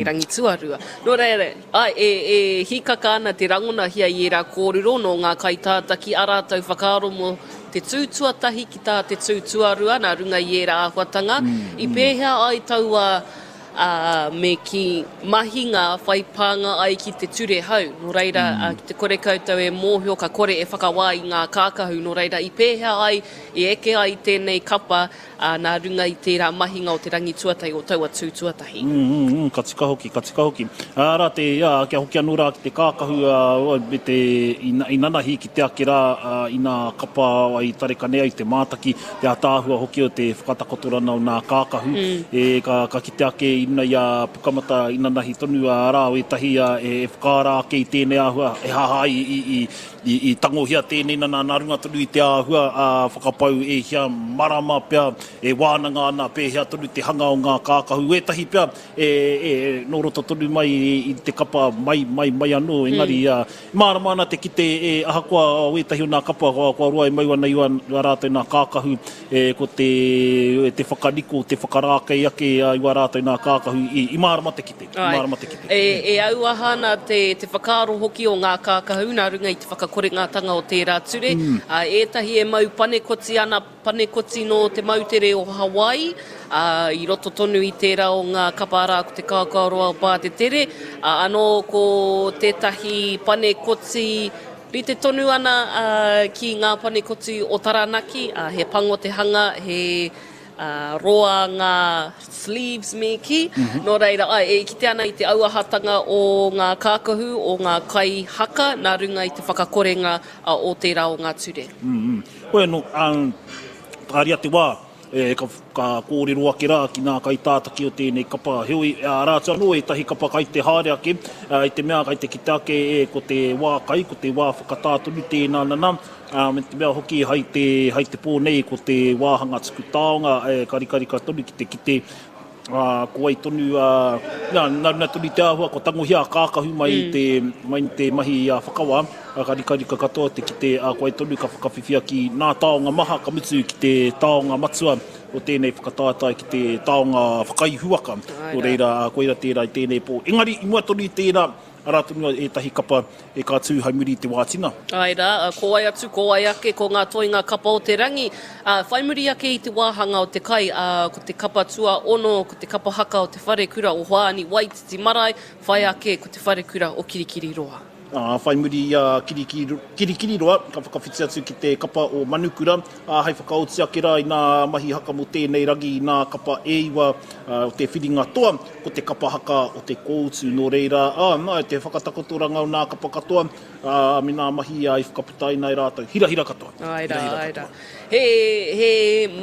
Rangi tuarua. Nō reira, āe, e, e hīkaka ana te rangonahia i ērā kōrero nō ngā kaitātaki ā rātou whakaaro mō te tū tuatahi ki tā te tū tuarua nā runga i ērā āhuatanga. I pēhea ai taua, ā, me kī, mahinga whai pānga ai ki te ture hou? Nō reira, ki te kore koutou e mōhio ka kore e whakawā i ngā kākahu, nō reira, i pēhea ai, i eke ai tēnei kapa ā, nā runga i tērā mahinga o te rangi tuatahi, o taua tū tuatahi. Mm, mm, mm, ka tika hoki, ka tika hoki. Ā, rā te, ā, kia hoki anō rā ki te kākahu, ā, me te, i, i nanahi ki te ake rā, ā, inā kapa ai tarekane ai te mātaki, te ātaahua hoki o te whakatakotorana o nā kākahu, mm. e, ka, ka kite ake i runa i a Pukamata i nanahi tonu, ā, rā o ētahi, ā, e, e whakaara ake i tēnei āhua, e haha ai i, i, I tangohia tēnei nana nā runga tonu i te āhua ā whakapau e hia marama pea e wānanga ana pēhea tonu te hanga o ngā kākahu. Ētahi pea e, e, nō roto tonu mai i te kapa mai, mai, mai anō, engari mm. mārama ana te kite e, ahakoa o ētahi o nā kapa kua, kua roa e mau ana i wā rātou nā kākahu, e, ko te, te whakaniko, te whakarākei ake i wā rātou nā kākahu i, i mārama te kite. Āe. Mārama te kite. E, e auaha ana te, te whakaaro hoki o ngā kākahu nā runga i te whakakorengatanga o tērā ture. Mm. Ā, ētahi e mau panekoti ana, panekoti nō te moutere o Hawaii, ā, i roto tonu i tērā o ngā kapa arā ko te Kaokaoroa o Pātetere, ā, anō ko tētahi panekoti rite tonu ana, ā, ki ngā panekoti o Taranaki, ā, he pango te hanga, he, Ā, roa ngā sleeves me kī. Nō reira, āe, e kite ana i te auahatanga o ngā kākahu, o ngā kai haka nā runga i te whakakorenga o tērā o ngā ture. Hoi anō, ā, tāria te wā, e, ka, ka kōrero ake rā ki ngā kaitātaki o tēnei kapa. Heoi, arā atu anō ētahi kapa kai te haere ake, ā, i te mea kai te kite ake, e, ko te wā kai, ko te wā whakatā tonu tēnā nana, Ā, me te mea hoki hai te, hai te pō nei ko te wāhanga tuku taonga e karikarika tonu ki te kite, ā, ko wai tonu, ā, nā, nā runga tonu i te āhua kua tangohia a kākahu mai i te, mai i te mahi a whakawā, ā, ka rikarika katoa te kite, ā, ko wai tonu ka whakawhiwhia ki nā taonga maha, ka mutu ki te taonga matua o tēnei whakataetae ki te taonga whakaihuwaka. Nō reira, ā, koira tērā i tēnei pō. Engari, i mua tonu i tērā, Arā tonu ētahi kapa e ka tū hai muri i te wā tina. Āe rā, ko wai atu, ko wai ake, ko ngā toenga kapa o te rangi. Ā, whai muri ake i te wāhanga o te kai, ā, ko te kapa tuaono, ko te kapa haka o te wharekura o Hoani Waititi Marae, whai ake ko te wharekura o Kirikiriroa. Ā, whai muri i a Kirikiriroa, ka whakawhiti atu ki te kapa o Manukura, ā, hei whakaoti ake rā i nā mahi haka mō tēnei rangi i nā kapa e iwa o te whiringa toa, ko te kapa haka o te kōutu. Nō reira, ā, nā, te whakatakotoranga o nā kapa katoa, ā, me nā mahi i whakaputaina e rātou. Hirahira katoa. Āe rā, āe rā. He, he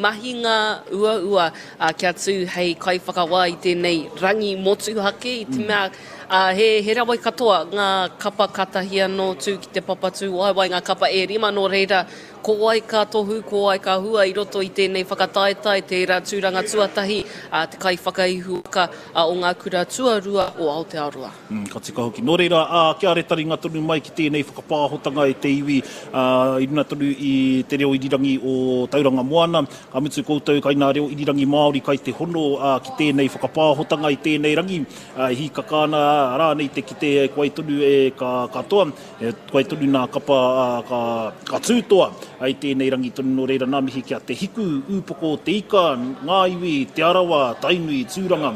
mahinga uaua, ā, kia tū hei kaiwhakawā i tēnei rangi motuhake i te mea, ā, he, he rawe katoa ngā kapa kātahi anō tū ki te papa tūwaewae, ngā kapa e rima, nō reira, Ko wai ka tohu, ko wai ka hua i roto i tēnei whakataetae, tērā tūranga tuatahi a te kaiwhakaihuwaka o ngā kura tuarua o Aotearoa. Ka tika hoki. Nō reira, ā, kia retaringa tonu mai ki tēnei whakapāhotanga e te iwi, ā, i runga tonu i te reo irirangi o Tauranga Moana, ka mutu koutou kai nā reo irirangi Māori kai te hono, ā, ki tēnei whakapāhotanga i tēnei rangi, ā, e hīkaka ana rānei te kite e koe tonu e ka katoa. E whai tonu nā kapa ka, ka tū toa i tēnei rangi tonu nō reira nā mihi ki a Te Hiku, Ūpoko o Te Ika, Ngā Iwi, Te Arawa, Tainui, Tūranga,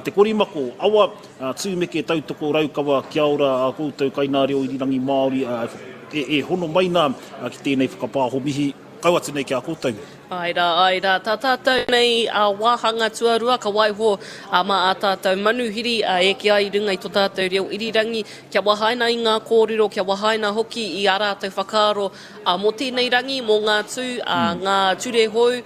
Te Korimako, Awa, Tūmeke, Tautoko, Raukawa, kia ora a koutou kai nā reo irirangi Māori e, e hono mai nā ki tēnei whakapāho mihi kau atu nei ki a koutou. Āe rā, āe rā, tā tātou nei wāhanga tuarua ka waiho mā ā tātou manuhiri e eke ai i runga i tō tātou reo irirangi, kia wahaina i ngā kōrero, kia wahaina hoki i ā rātou whakaaro mō tēnei rangi, mō ngā tū, ngā ture hou,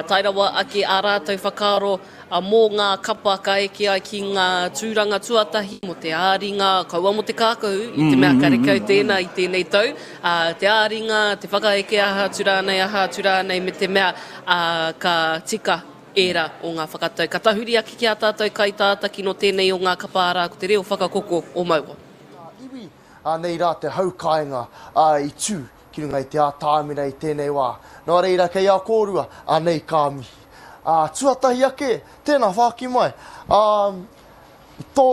tae rawa ake ā rātou whakaaro mō ngā kapa ka eke ai ki ngā tūranga tuatahi, mō te ā-ringa, kaua mō te kākahu, i te mea karekau tēnā i tēnei tau, ā, te ā-ringa, te whakaeke aha atu rānei, aha atu rānei, me te mea, ā, ka tika ērā o ngā whakatau. Ka tahuri ake ki ā tātou kaitātaki nō tēnei o ngā kapa arā ko te reo whakakoko o Maua. Ngā iwi, anei rā te hau kāinga, ā, i tū ki runga i te ātamira i tēnei wā. Nō reira, kei a kōrua, anei ka mihi. Ā, tuatahi ake, tēnā whāki mai. Ā, I tōu.